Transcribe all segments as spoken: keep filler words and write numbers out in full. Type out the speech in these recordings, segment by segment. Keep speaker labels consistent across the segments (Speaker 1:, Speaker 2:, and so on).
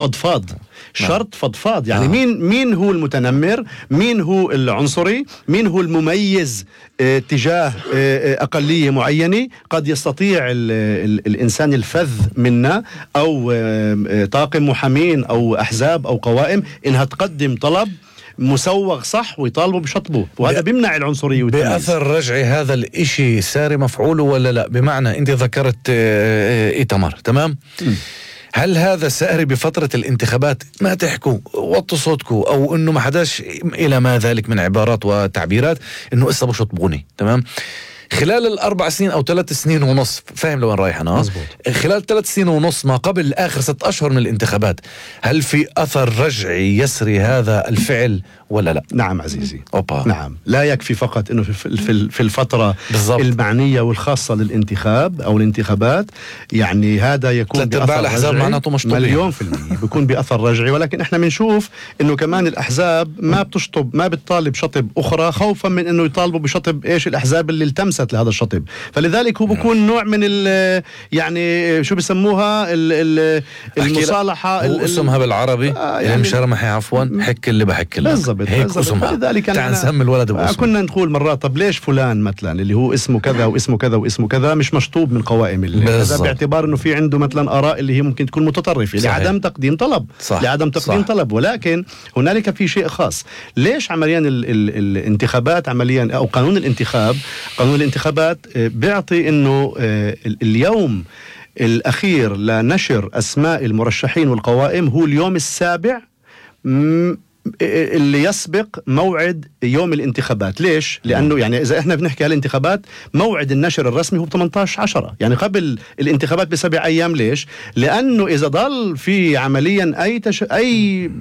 Speaker 1: فضفاض شرط فضفاض يعني آه. مين مين هو المتنمر، مين هو العنصري، مين هو المميز اه تجاه اه أقلية معينة. قد يستطيع ال ال الإنسان الفذ منا أو اه طاقم محامين أو أحزاب أو قوائم إنها تقدم طلب مسوغ صح ويطالبوا بشطبه، وهذا بيمنع العنصرية والتمييز.
Speaker 2: بأثر رجعي هذا الإشي ساري مفعوله ولا لا؟ بمعنى أنت ذكرت إيتمر تمام؟ م. هل هذا ساري بفترة الانتخابات؟ ما تحكوا وطوا صوتكوا أو إنه ما حداش إلى ما ذلك من عبارات وتعبيرات إنه إسا بشطبوني تمام؟ خلال الأربع سنين أو ثلاث سنين ونص، فاهم لوين رايح أنا؟
Speaker 1: مزبوط.
Speaker 2: خلال ثلاث سنين ونص ما قبل آخر ست أشهر من الانتخابات، هل في أثر رجعي يسري هذا الفعل ولا لا؟
Speaker 1: نعم عزيزي.
Speaker 2: أوبا.
Speaker 1: نعم، لا يكفي فقط إنه في في في الفترة
Speaker 2: بالضبط.
Speaker 1: المعنية والخاصة للانتخاب أو الانتخابات، يعني هذا يكون
Speaker 2: بأثر الأحزاب معناته مشطوبين
Speaker 1: مليون في المية بيكون بأثر رجعي، ولكن إحنا بنشوف إنه كمان الأحزاب ما بتشطب، ما بتطالب شطب أخرى خوفا من إنه يطالبوا بشطب إيش الأحزاب اللي التمست لهذا الشطب، فلذلك هو بيكون نوع من ال يعني شو بسموها ال المصالحة.
Speaker 2: هو اسمها بالعربي آه يعني مشرمحي عفوا حك اللي بحك له هيك اسمها.
Speaker 1: لذلك
Speaker 2: تعال نسمي الولد باسمه.
Speaker 1: كنا نقول مرات طب ليش فلان مثلا اللي هو اسمه كذا واسمه كذا واسمه كذا مش مشطوب من قوائم هذا، باعتبار انه في عنده مثلا آراء اللي هي ممكن تكون متطرفة لعدم تقديم طلب
Speaker 2: صح.
Speaker 1: لعدم تقديم صح. طلب. ولكن هنالك في شيء خاص. ليش عمليا ال ال الانتخابات عمليا او قانون الانتخاب قانون الانتخابات بيعطي انه اليوم الأخير لنشر أسماء المرشحين والقوائم هو اليوم السابع اللي يسبق موعد يوم الانتخابات. ليش؟ لأنه يعني إذا إحنا بنحكي على الانتخابات موعد النشر الرسمي هو ثمانية عشر عشرة، يعني قبل الانتخابات بسبع أيام. ليش؟ لأنه إذا ضل في عمليا أي تش... أي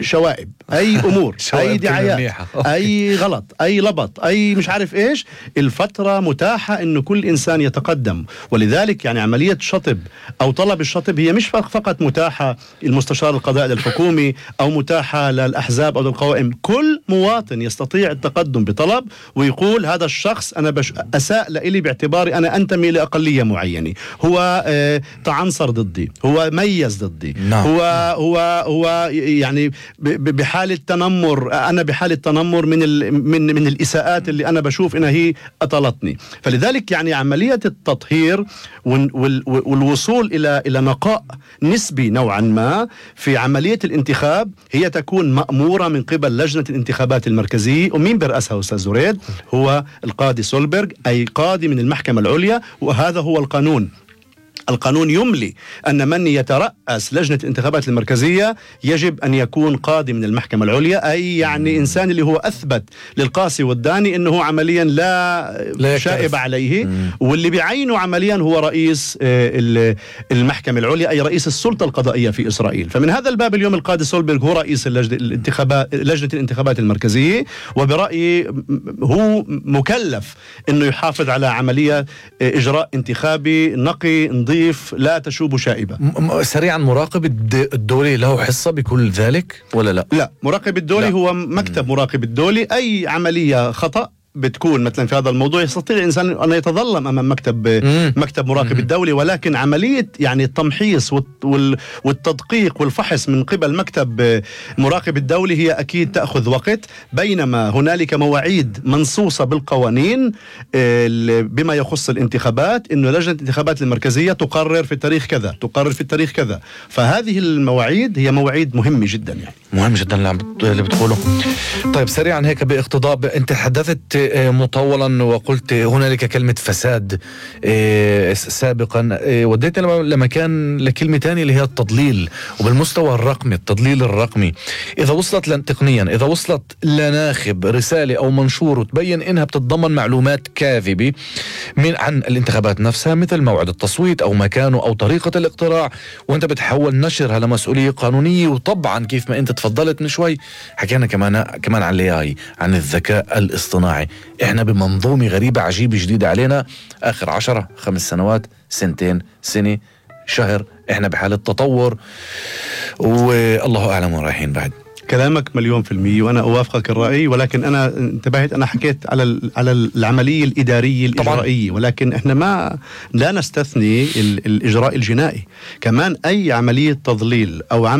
Speaker 1: شوائب، أي أمور أي دعايات، أي غلط، أي لبط، أي مش عارف إيش، الفترة متاحة إنه كل إنسان يتقدم. ولذلك يعني عملية شطب أو طلب الشطب هي مش فقط متاحة المستشار القضائي الحكومي أو متاحة للأحزاب أو للقوائم. كل مواطن يستطيع التقدم بطلب ويقول هذا الشخص أنا بش أساء لإلي باعتباري أنا أنتمي لأقلية معينة، هو آه تعنصر ضدي، هو ميز ضدي، no. هو هو هو يعني بحالة تنمر، أنا بحالة تنمر من من من الإساءات اللي أنا بشوف إنها هي أطلتني. فلذلك يعني عملية التطهير والوصول إلى إلى نقاء نسبي نوعا ما في عملية الانتخاب هي تكون مأمورة من قبل لجنة الانتخابات المركزية. ومين برأسها أستاذ زريد؟ هو القاضي سولبرغ، أي قاضي من المحكمة العليا، وهذا هو القانون. القانون يملي أن من يترأس لجنة الانتخابات المركزية يجب أن يكون قاضي من المحكمة العليا، أي يعني إنسان اللي هو أثبت للقاصي والداني أنه عمليا لا, لا شائب عليه. مم. واللي بيعينه عمليا هو رئيس المحكمة العليا، أي رئيس السلطة القضائية في إسرائيل. فمن هذا الباب اليوم القاضي سولبرغ هو رئيس الانتخابات لجنة الانتخابات المركزية، وبرأيي هو مكلف أنه يحافظ على عملية إجراء انتخابي نقي نظيف لا تشوب شائبة.
Speaker 2: م- سريعا، مراقب الدولي له حصة بكل ذلك ولا لا؟
Speaker 1: لا، مراقب الدولي لا. هو مكتب م. مراقب الدولي. أي عملية خطأ بتكون مثلا في هذا الموضوع يستطيع الإنسان أن يتظلم أمام مكتب مم. مكتب مراقب مم. الدولي، ولكن عملية يعني التمحيص والتدقيق والفحص من قبل مكتب مراقب الدولي هي أكيد تأخذ وقت، بينما هنالك مواعيد منصوصة بالقوانين بما يخص الانتخابات، إنه لجنة الانتخابات المركزية تقرر في التاريخ كذا، تقرر في التاريخ كذا. فهذه المواعيد هي مواعيد مهمة جدا، يعني
Speaker 2: مهم جدا اللي بتقوله. طيب سريعا هيك باقتضاء، أنت حدثت مطولا وقلت هنالك كلمة فساد سابقا، وديت لما كان لكلمة تانية اللي هي التضليل، وبالمستوى الرقمي التضليل الرقمي. إذا وصلت تقنيا، إذا وصلت لناخب رسالة أو منشور وتبين إنها بتتضمن معلومات كاذبة من عن الانتخابات نفسها، مثل موعد التصويت أو مكانه أو طريقة الاقتراع، وأنت بتحاول نشرها لمسؤولية قانونية. وطبعا كيف ما أنت تفضلت من شوي حكينا كمان كمان عن الاي عن الذكاء الاصطناعي. احنا بمنظومة غريبة عجيبة جديدة علينا اخر عشرة خمس سنوات سنتين سنة شهر، احنا بحالة تطور والله اعلم وين رايحين بعد.
Speaker 1: كلامك مليون في المية وأنا أوافقك الرأي، ولكن أنا انتبهت، أنا حكيت على على العملية الإدارية الإجرائية، ولكن إحنا ما لا نستثني الإجراء الجنائي كمان. أي عملية تضليل أو